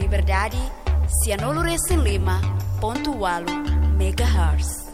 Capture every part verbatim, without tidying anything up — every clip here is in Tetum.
Liberdade, sianulu resin lima pontu walu megahertz.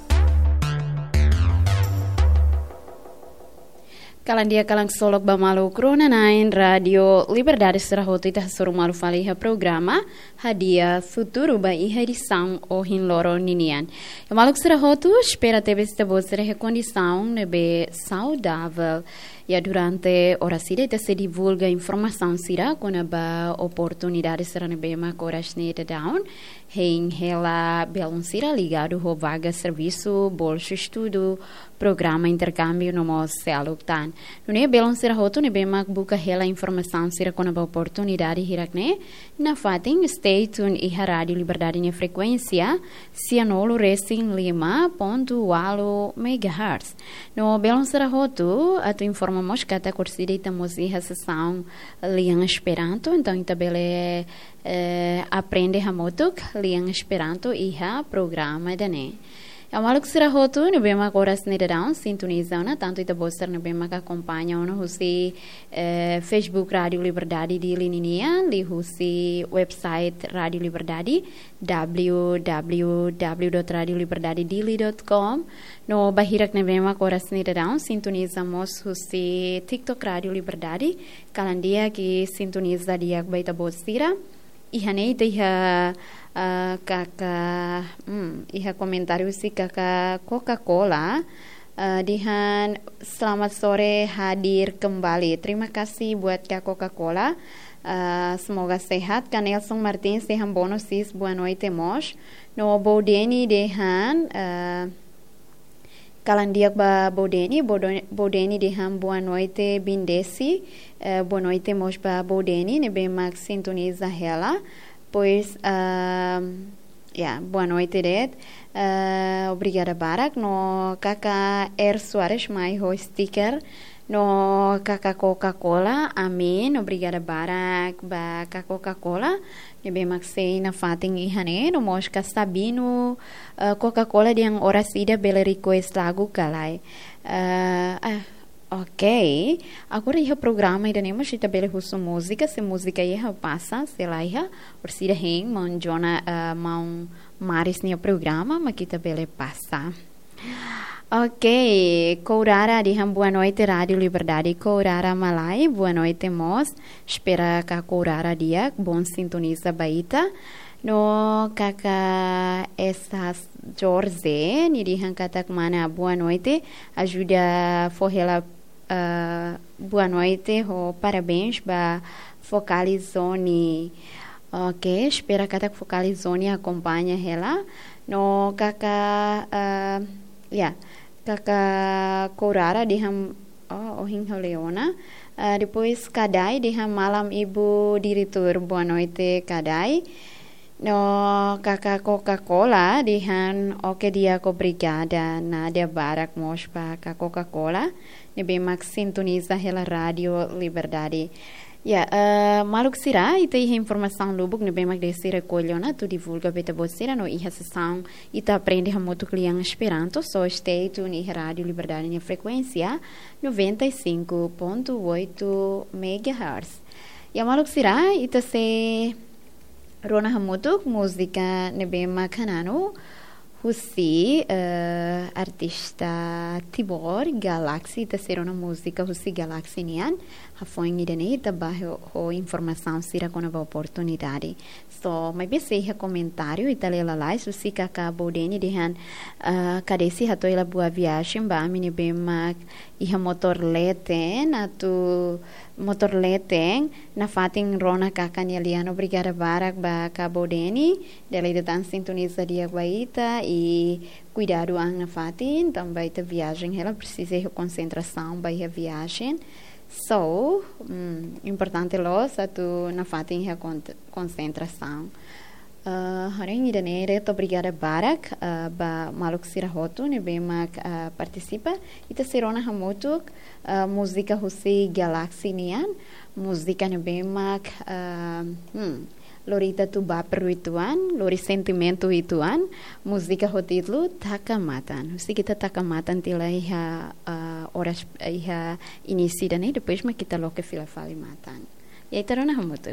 Kalan di'ak, kalan ksolok ba maluk rona-na'in Rádio Liberdade sira hotu, ita hasoru malu fali iha programa Hadi'a Futuru ba iha edisaun ohin loron ninian. Iha maluk sira hotu, espera tebes ita-boot sira iha kondisaun ne'ebé saudavel. Iha durante oras ida ita sei divulga informasaun sira kona-ba oportunidade sira ne'ebé mak oras ne'e daudaun hein hela belun sira ligadu ho vaga servisu, bolsu estudu, programa interkámbiu no mós seluk tan. Nune'e belun sira hotu ne'ebé mak buka hela informasaun sira kona-ba oportunidade hirak-ne'e, nafatin stay tune iha Rádio Liberdade nia frekuénsia sianulu resin lima pontu walu megahertz. No belun sira hotu, atu informa mós katak oras ida ita mós iha sesaun lian Esperanto, entaun ita bele, eh, aprende hamutuk lian Esperanto iha programa ida-ne'e. Iha maluk sira hotu ne'ebé mak oras ne'e daudaun sintoniza ona, tantu ita-boot sira ne'ebé mak akompaña ona husi, eh, Facebook Rádio Liberdade Dili ninian, liuhusi website Rádio Liberdade, w w w dot radio liberdade dili dot com, no ba hirak ne'ebé mak oras ne'e daudaun sintoniza mós husi TikTok Rádio Liberdade, kalan di'ak i sintoniza di'ak ba ita-boot sira. Iha ne'e ita iha, ah, kaka, hmm, iha komentáriu husi kaka Coca-Cola, ah, dehan, "Selamat sore, hadir kembali. Terima kasih buat kaka Coca-Cola. Ah, semoga sehat." Kaka Nelson Martins dehan, "Bono sis, boa noite mós." No Boudeni dehan, ah, kalan di'ak ba Boudeni, Bodo-, Boudeni dehan, "Boa noite, Bindesi." Eh, boa noite mós ba Boudeni, ne'ebé mak sintoniza hela. Pois, ah, ya, boa noite de'it. Eh, obrigada barak. No kaka R Soares mai ho sticker. No kaka Coca-Cola, amin. Obrigada barak ba kaka Coca-Cola ne'ebé mak sei nafatin iha ne'e, no mós kaka Sabino, eh, Coca-Cola dehan oras ida bele request lagu ka lae. Eh, ah, ok. Agora iha programa ida-ne'e mós ita bele husu múzika, se múzika iha pasa, se la iha, oras ida hein maun Jona, eh, maun Maris nia programa, mak ita bele pasa. Ok, Kourara dehan boa noite, Rádio Liberdade. Kourara Malai, boa noite mós. Espera kaka Kourara di'ak, bom sintoniza ba ita. No kaka Esas Jorge, nia dehan katak mana, boa noite. Ajuda fó hela, ah, boa noite, ho parabéns ba Focalizone. Ok, espera katak Focalizone akompaña hela. No kaka, ah, ya, kaka Kourara dehan, oh, ohin ho Leona. Ah, depois Kadai dehan, "Malam Ibu Diretór." Boa noite, Kadai. No kaka Coca-Cola dehan, "Ok di'ak, obrigada." Nadia barak mós ba kaka Coca-Cola ne'ebé mak sintoniza hela Rádio Liberdade. Ya, eh, maluk sira, ita iha informasaun lubuk ne'ebé mak Desi rekolle ona atu divulga ba ita-boot sira no iha sesaun ita aprende hamutuk lian Esperanto, só stay tune iha Rádio Liberdade nia frekuénsia noventa e cinco ponto oito megahertz. Ya maluk sira, ita sei rona hamutuk múzika ne'ebé mak hananu husi, eh, artista Timor, Galaxy, ita sei rona múzika husi Galaxy nian. Hafoin ida-ne'e ita bá ho, ho informasaun sira kona-ba oportunidade. So, maibé sei iha komentáriu, ita lee lalais, husi kaka Boudeni dehan, eh, Kadesi hato'o hela boa viagem ba ami ne'ebé mak iha motór leten, atu motór leten, nafatin rona kaka nia lian. Obrigada barak ba kaka Boudeni, dala ida tan sintoniza di'ak ba ita, i kuidadu an nafatin, tanba ita viajen hela presiza iha konsentrasaun ba iha viajen. So, mm, importante loos atu nafatin iha kon-, konsentrasaun. Ah, hanoin ida-ne'e de'it, obrigada barak, ah, ba maluk sira hotu ne'ebé mak, ah, partisipa. Ita sei rona hamutuk, ah, múzika husi Galaxy nian, múzika ne'ebé mak, ah, hmm, lori ita atu baper uitoan, lori sentimentu uitoan, múzika ho títulu Taka Matan. Husik ita taka matan tiha ona iha, ah, oras, iha inísiu ida-ne'e, depois mak ita loke fila fali matan. Ya, ita rona hamutuk.